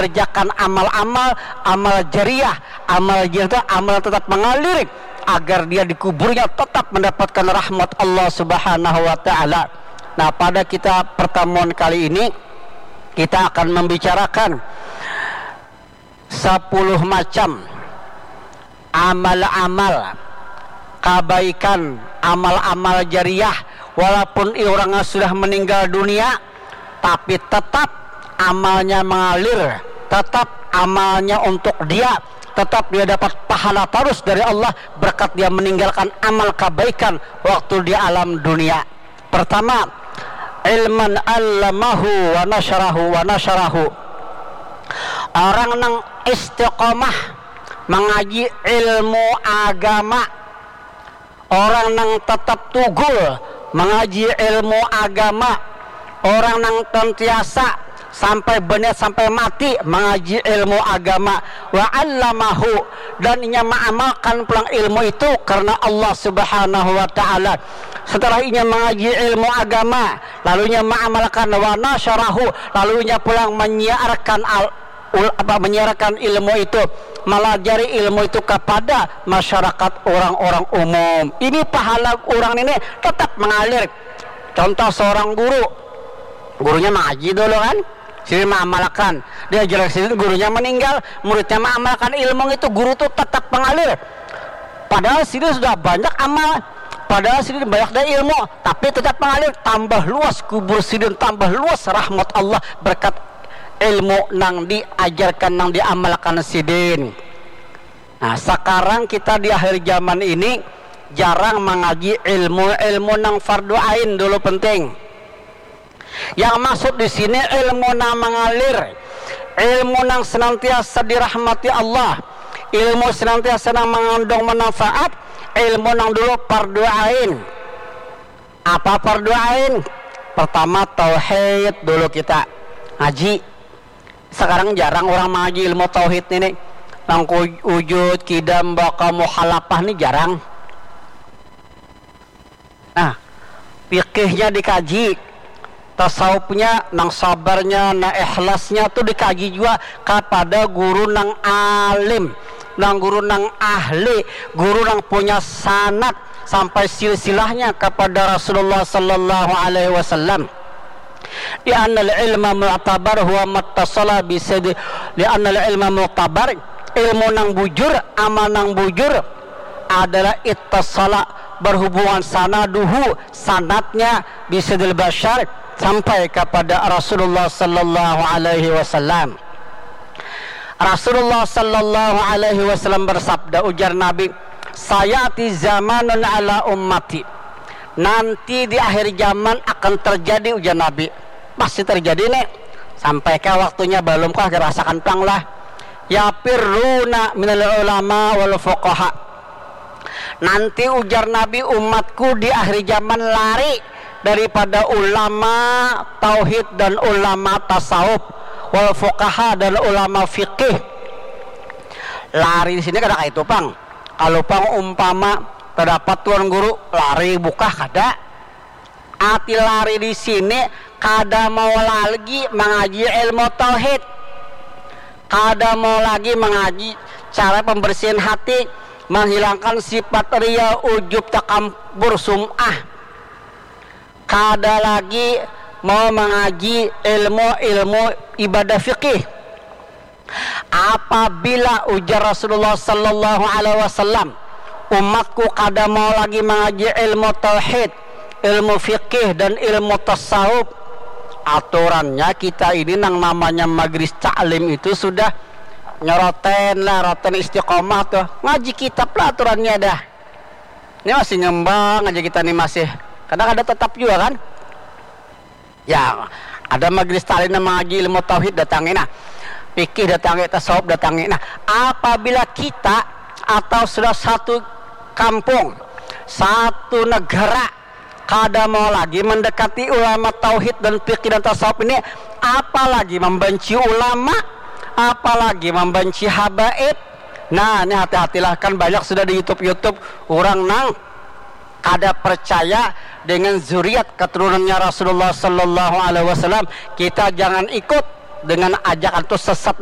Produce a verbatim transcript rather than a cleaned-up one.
mengerjakan amal-amal, amal jariah, amal jariah itu amal tetap mengalir agar dia di kuburnya tetap mendapatkan rahmat Allah Subhanahu wa Ta'ala. Nah, pada kita pertemuan kali ini, kita akan membicarakan sepuluh macam amal-amal kabaikan, amal-amal jariah, walaupun orangnya sudah meninggal dunia, tapi tetap amalnya mengalir, tetap amalnya untuk dia, tetap dia dapat pahala terus dari Allah berkat dia meninggalkan amal kebaikan waktu di alam dunia. Pertama, ilman allamahu wa nasyarahu wa nasyarahu. Orang nang istiqomah mengaji ilmu agama, orang nang tetap tugul mengaji ilmu agama, orang nang tentiasa sampai beniat sampai mati mengaji ilmu agama, wa allamahu, dan inya mengamalkan pulang ilmu itu karena Allah Subhanahu wa Ta'ala. Setelah inya mengaji ilmu agama, lalu inya mengamalkan, wa nasyarahu, lalu inya pulang menyiarkan al, ul, apa, menyiarkan ilmu itu, melajari ilmu itu kepada masyarakat orang-orang umum. Ini pahala orang ini tetap mengalir. Contoh seorang guru, gurunya mengaji dulu kan, sini mengamalkan, dia jelas sini gurunya meninggal, muridnya mengamalkan ilmu itu, guru itu tetap mengalir. Padahal sini sudah banyak amal, padahal sini banyak dari ilmu, tapi tetap mengalir, tambah luas kubur sidin, tambah luas rahmat Allah berkat ilmu nang diajarkan, nang diamalkan sidin. Nah, sekarang kita di akhir zaman ini jarang mengaji ilmu-ilmu nang fardu ain dulu penting. Yang maksud di sini ilmu nang mengalir, ilmu nang senantiasa dirahmati Allah, ilmu senantiasa nang mengandung manfaat, ilmu nang dulu fardu ain. Apa fardu ain? Pertama tauhid dulu kita ngaji. Sekarang jarang orang mengaji ilmu tauhid ini. Nang wujud, kidam, baka, mukhalafah ini jarang. Nah, fikihnya dikaji, tasawufnya, nang sabarnya, nang ikhlasnya tu dikaji jua kapada guru nang alim, nang guru nang ahli, guru nang punya sanad sampai silsilahnya kapada Rasulullah sallallahu alaihi wasallam. Li'annal ilma mu'tabar huwa mattasala bisidi. Li'annal ilma mu'tabar, ilmu nang bujur, amal nang bujur adalah ittasala, berhubungan sanaduhu, sanadnya, bisidil basyar, sampai kepada Rasulullah sallallahu alaihi wasallam. Rasulullah sallallahu alaihi wasallam bersabda, ujar Nabi, "Sayati zamanun ala ummati." Nanti di akhir zaman akan terjadi, ujar Nabi. Pasti terjadi nih. Sampai ke waktunya belum kah, dirasakan pang lah. Yafirruna minal ulama wal fuqaha. Nanti ujar Nabi, umatku di akhir zaman lari daripada ulama tauhid dan ulama tasawuf, wal fuqaha dan ulama fikih. Lari di sini kada kayak itu pang. Kalau pang umpama terdapat tuan guru lari bukah kada. Ati lari di sini kada mau lagi mengaji ilmu tauhid, kada mau lagi mengaji cara pembersihan hati, menghilangkan sifat ria, ujub, takabur, sum'ah. Kada lagi mau mengaji ilmu-ilmu ibadah fikih. Apabila ujar Rasulullah sallallahu alaihi wasallam, umatku kada mau lagi mengaji ilmu tauhid, ilmu fikih dan ilmu tasawuf, aturannya kita ini nang namanya majelis taklim itu sudah nyoroten lah, roten istiqomah tuh, ngaji kitab lah aturannya dah. Ini masih ngembang aja kita nih, masih kadang ada tetap juga kan. Ya, ada majelis taklim nang mengaji ilmu tauhid, datangi nah. Fikih datangi, tasawuf datangi. Nah, apabila kita atau sudah satu kampung, satu negara kada mau lagi mendekati ulama tauhid dan fikih dan tasawuf ini, apalagi membenci ulama, apalagi membenci habaib. Nah, ini hati-hatilah, kan banyak sudah di YouTube-YouTube orang nang kada percaya dengan zuriat keturunannya Rasulullah sallallahu alaihi wasallam. Kita jangan ikut dengan ajakan itu, sesat dan